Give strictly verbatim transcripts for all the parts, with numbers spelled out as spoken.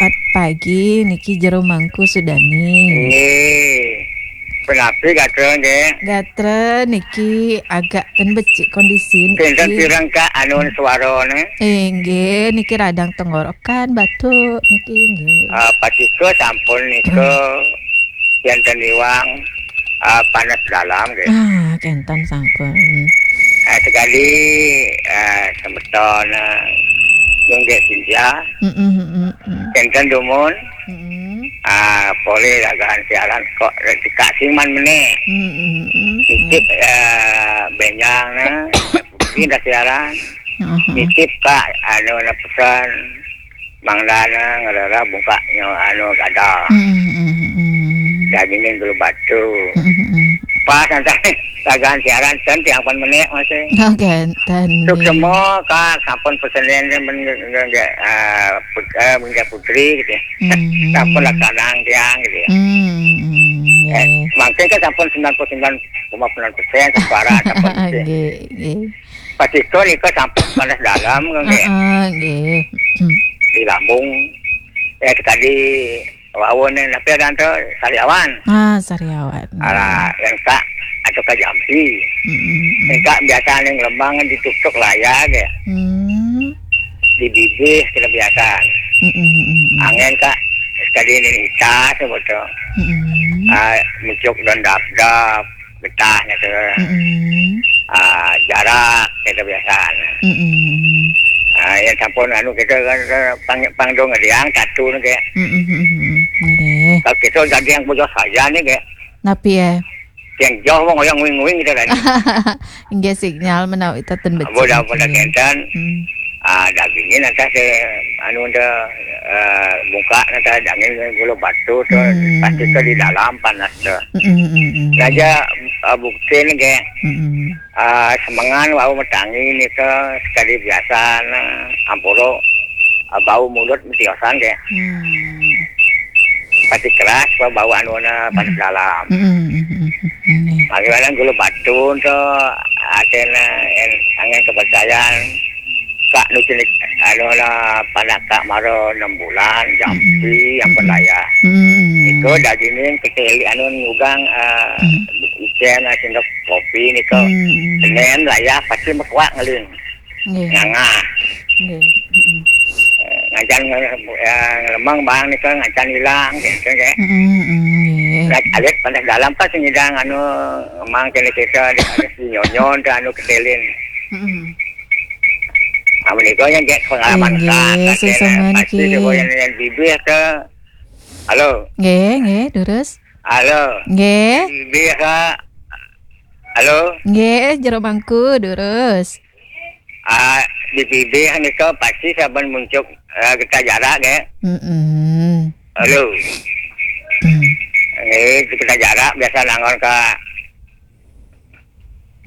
Jumat pagi niki jero mangku Sudani. Nggih. Punapi gatra nggih? Gatra niki agak ten becik kondisi niki. Kinten pireng Kak anu suarane? Inggih, niki radang tenggorokan, batuk niki nggih. Ah, patika sampun nika enten iwang, ah, panas dalam nggih. Ah, kenten sampun. Ah, sekali, ah, semeton, ah, nggih Sintia. Mm-mm, mm-mm. Kenten dumun. Mm-mm. Ah, polih dagahan siaran kok dikasih man meneh. Mm-mm, mm-mm. Nitip, ah, benjang nah. Pindah siaran. Aha. Nitip Kak, anu, na pesan. Mangdana ngerera bungkaknya anu gada. Mm-mm, mm-mm. Dagingnya gulu batu. Mm-mm, mm-mm. Pas nanti dagahan siaran ten tiang pan meneh masih. Oke, ten. Suksema Kak, sampun pesenen men, men, ah, put-, eh, Bunda Putri gitu ya. Mm-mm. Sampun laksanaan tiang gitu ya. Mm-mm, eh, nggih. Mangkin kan sampun sembilan puluh sembilan koma sembilan persen suara sampun gitu. Nggih, nggih. Patika nika sampun panas dalam nggih. Heeh, nggih. Hmm. Di lambung. Ya tadi wawon napi aran to Sariawan. Ah, Sariawan. Ala, yang tak atau ka Jampi. Mm-mm. Yang tak biasa ning Lembang ditutuk layar ya. Hmm. Di bibih kena biasa. Mm-mm, mm-mm. Angin Kak sekali ini itas betul. Mm-mm. Ah, muncuk dan dap-dap. Getah gitu. Mm-mm. Ah, jarak gitu biasa. Mm-mm. Ah, yang sampun anu kita kan, kan pang, panggung ngediang satu ni kayak. Mm-mm, mm-mm. Nggih. Kalau kita jadi yang bujur saja ni kayak. Napi eh? Yang jauh wong yang wing-wing gitu kan. Nggih sinyal menawi teten becik. Bodoh-bodoh nggih. Kenten. Hmm. Ah, dagingnya nanti saya anu dah, eh, buka nanti daging gulu batu tu, hmm, pasti ke di dalam panas tu. Mm-mm, mm-mm. Raja, eh, bukti ni ke, mm-mm, eh, semengan wau metangi ni ke sekali biasa na ampuro, eh, bau mulut metiosan ke. Hmm. Pasti keras, bau anu na panas dalam. Mm-mm, mm-mm, mm-mm. Bagaimana gulu batu tu, ada na, en-, angin kepercayaan. Kak nu cilik anu lah panak Kak mara enam bulan, jampi, mm-mm, yang pun layah. Mm-mm. Iko dagingin keteli anu nyugang, eh, mm, icen, eh, sendok kopi niko. Mm-mm. Senin layah pasti mekuak ngeling. Nggih. Ngangah. Nggih. Mm-mm. Eh, ngancan nge-, eh, ngelemeng bang niko ngancan hilang gitu ke. Mm-mm, mm-mm, nggih. Nah, alit panas dalam kan sing nyidang anu mang kene kita ada, ada si nyonyon tu anu ketelin. Mm-mm. Ah, menika yang kayak pengalaman. Inggih, Kak, sesama pasti niki. Coba yang, yang bibir ke. Halo. Nggih, nggih, durus. Halo. Nggih. Bibir ke. Halo. Nggih, jero mangku, durus. Ah, di bibir nika pasti saben muncuk, eh, kita jarak, nggih. Mm-mm. Halo. Mm. Nggih, kita jarak biasa nangon ke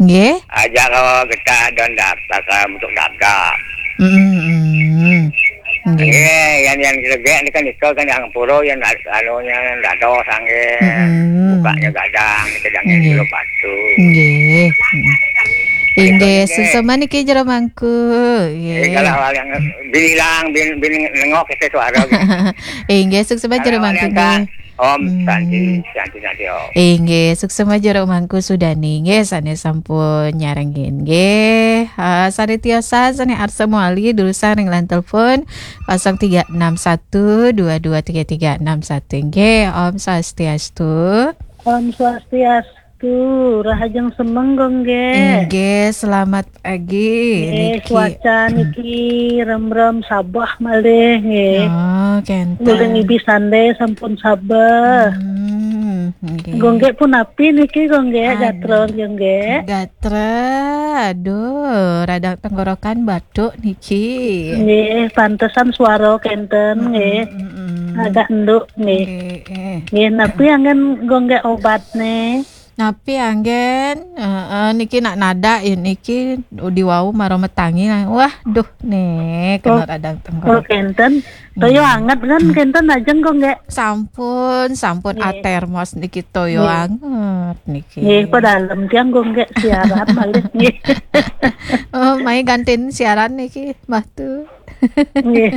Nggih. Aja kalau kita don daftar, kalau untuk daftar. Mm-mm. Nggih. Nggih, yang, yang gede ni kan itu kan yang puro yang ad-, anunya dado sange, mm-mm, bukanya gadang, kita jangan, nggih, dulu batu. Nggih. Mm. Inggih, nggih. Suksma niki jero mangku. Nggih. Kalau awal yang bilang, bin, bin nengok kita suara gitu. Inggih, suksma jero mangku, nggih. Om Santi, Santi, Santi, Om. Inggih, suksma jero mangku Sudani. Nggih, sane sampun nyarengin. Nggih, ha, sane tiosan, sane arsa mawali, durusang ring line telepon kosong tiga enam satu dua dua tiga tiga enam satu. Nggih, Om Swastiastu. Om Swastiastu. Tuh, rahajeng semeng, Gong, nggih. Inggih, selamat pagi. Nggih, niki. Cuaca niki remrem sabeh malih, nggih. Oh, kenten. Mulai ngibi sande sampun sabeh. Hmm, nggih. Gong, nggih, punapi niki, Gong, nggih, aduh. Gatra, Gong, nggih. Gatra, aduh, radang tenggorokan batuk niki. Nggih, pantesan suara kenten, mm-mm, nggih. Mm-mm. Agak enduk, nggih. Nggih, eh. Nggih, napi anggen, Gong, nggih, obatne? Napi anggen, heeh, niki nak nadak ya niki, udi wau mara metangi. Wah, duh, nih, kena radang tenggorokan. Oh, kenten. Toyo anget kan, hmm, kenten ajeng kok nggih. Sampun, sampun, nggih. Atermos niki toyo, nggih, anget niki. Nggih, padalem tiang kok nggih siaran malih nggih. Oh, mai gantiin siaran niki, Mbah Tu. Nggih.